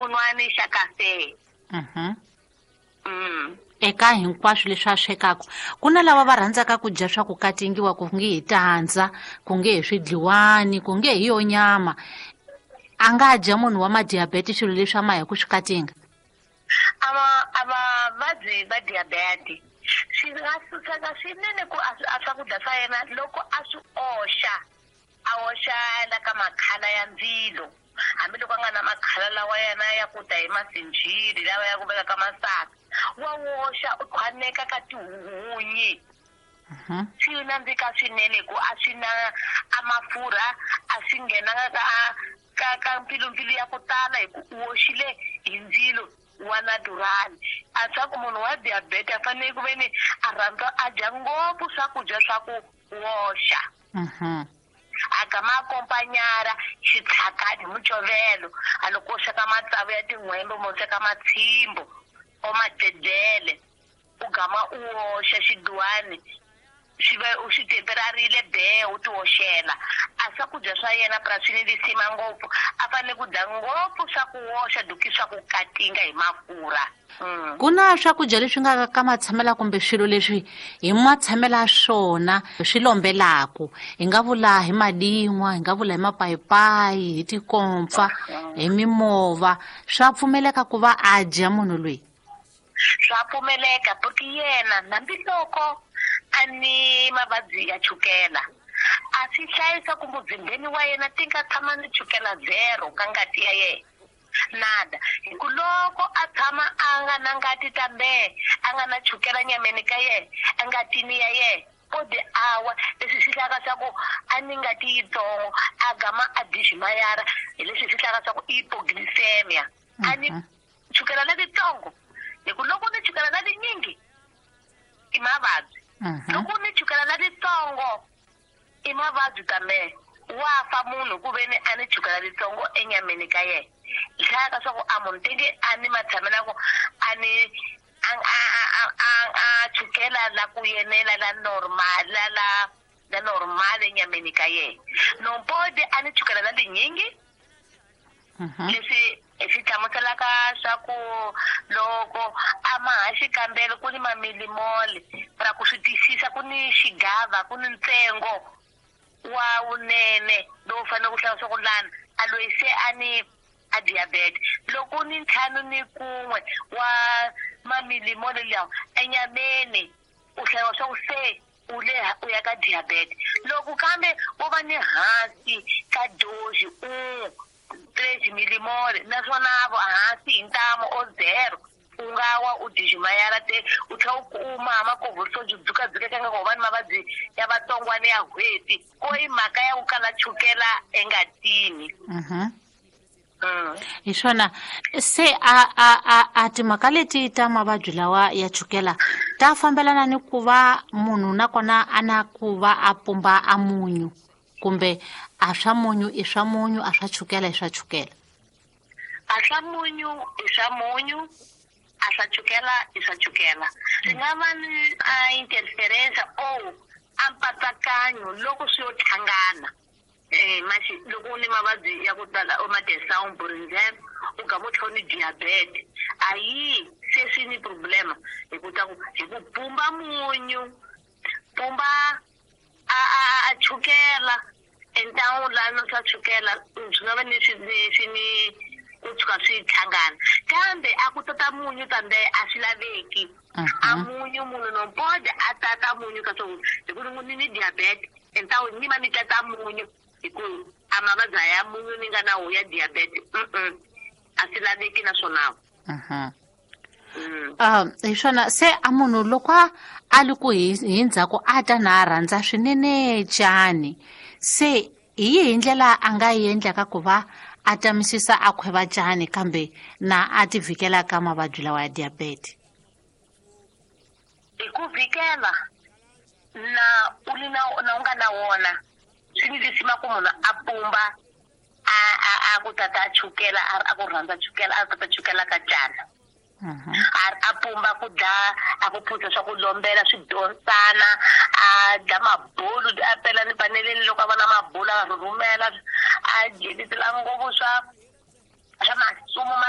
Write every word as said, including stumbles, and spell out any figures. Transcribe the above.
Xin'wani xa kafe. Mhm. Mm. Eka hinkwaswo leswi a swekaka, ku na lava va rhandzaka ku dya swa ku katingiwa, ku nge hi tandza, ku nge hi swidliwani, ku nge hi yo nyama. A nga dya munhu wa madiabete swilo leswi a ma hi ku swi katinga? Ava ava vabyi va diabete swi nga suseka swinene ku a a swakudya swa yena loko a swi oxa, a oxa la ka makhala ya ndzilo, hambiloko a nga na makhala lawa yena ya ku ta hi masinjhili lawa ya ku veka ka masaka, wa woxa u khwaneka ka tihunyi. Mhm. Swi nandzika swinene ku a swi na a mafurha, a swi nghenanga ka ka ka mpfilumpfilu ya ku tala hi ku u woxile hi ndzilo wa natural. A swa ku munhu wa diabete a fanele ku ve ni a rhandza a dya ngopfu swakudya swa ku woxa. Mhm. A gama akompanyara xitshakati hi mucovelo, a loko u sweka matsavu ya tin'hwembe, mo sweka matshimbo o macedzele, u gama u woxa xiduwani xi va u xi temperarile be u ti woxela. A swakudya swa yena purasini lisima ngopfu, a fanele ku dya ngopfu swa ku woxa duki swa ku katinga hi mafurha. Mm. Ku na swakudya leswi nga ka matshamela kumbe swilo leswi hi matshamela swona swi lombelaku, hi nga vula hi madin'wa, hi nga vula hi mapayipayi, hi tikompfa, hi mimova, swa pfumeleka ku va a dya munhu loyi? Swa pfumeleka porque yena hambiloko a ni mavabyi ya chukela, a swi hlayisa ku muzimbeni wa yena ti nga tshama ni chukela zero ka ngati ya yena nada, hi ku loko a tshama a nga na ngati tambe a nga na chukela nyameni ka yena, engatini ya yena, o di awa leswi swi hlaka swa ku a ni ngati yitsongo, a gama a diximayara hi leswi swi hlaka swa ku i hypoglycemia, a ni chukela leritsongo, hi ku loko ni chukela na linyingi i mavabyi. Mhm. Loko ni chukela na litsongo i mavabyi kambe wa fa munhu ku ve ni a ni chukela litsongo enyameni ka yena. Hlaya ka swa ku a munhu tenge a ni matshamela ku a ni a a a a a chukela la ku yenela la normal, la la la normal enyameni ka yena, nompode a ni chukela la linyingi. Mhm. Leswi swi hlamuselaka swa ku loko a ma ha xikambelo ku ni mamilimole ra ku swi twisisa, ku ni xigava, ku ni ntsengo wa wunene lowu fanele ku hlaya swa ku lana a loyi se a ni a diabete, loko ni ntlhanu ni kun'we wa mamilimole lawa enyameni, u hlayiwa swa ku se u le u ya ka diabete. Loko kambe wo va ni hansi ka doji u tres milimole, naswona vo hansi hi ntamu o zero, u nga wa u diximayara te u tlhela u kuma makovholiso dzukadzukeka nga ku va ni mavabyi ya vatsongwana ya n'hweti ko i mhaka ya ku kala chukela engatini. Mhm. Mm. Hi swona se a a a a timhaka leti ta mavabyi lawa ya chukela ta fambelana ni ku va munhu nakona a na ku va a pumba a munyu, kumbe a swa munyu i swa munyu, a swa chukela i swa chukela? A swa munyu i swa munyu, a swa chukela i swa chukela. Swi nga va ni a interference o a mpatsakanyo loko swi yo hlangana. Eh maxi loko u ni mavabyi ya ku tala o ma-desawun burinzem u gama u tlhela u ni diabete, a yi se swi ni problema hi ku ta ku hi ku pumba munyu, pumba a a a chukela entangu lana swa chukela swi nga va ni swi ni swi ni ku tshuka swi hlangana, kambe a ku tata munyu kambe a swi laveki. A munyu munhu nompode a tata munyu ka swo hi ku ni ni diabete entangu ni va ni tata munyu hi ku a mavabyi ya munyu ni nga na wo ya diabete mm a swi laveki naswona. Mhm. Mm. Ah, hi swona se a munhu loko a a li ku hi hi ndzhaku a ta na a rhandza swinene cani, se hi yihi ndlela a nga yi endlaka ku va a tamisisa a khweva cani kambe na a ti vhikela ka mavabyi lawa ya diabete? Hi ku vhikela na u li na na u nga na wona swi ni lisima ku munhu a pumba a a a ku tata a chukela a a ku rhandza chukela a tata chukela ka cana. Mhm. A a pumba ku dla a ku phuza swa ku lombela swi donsana, a dla mabulu a pela ni paneleni loko a vona mabulu a rhurhumela, a dyeletela ngopfu swa swa masumu ma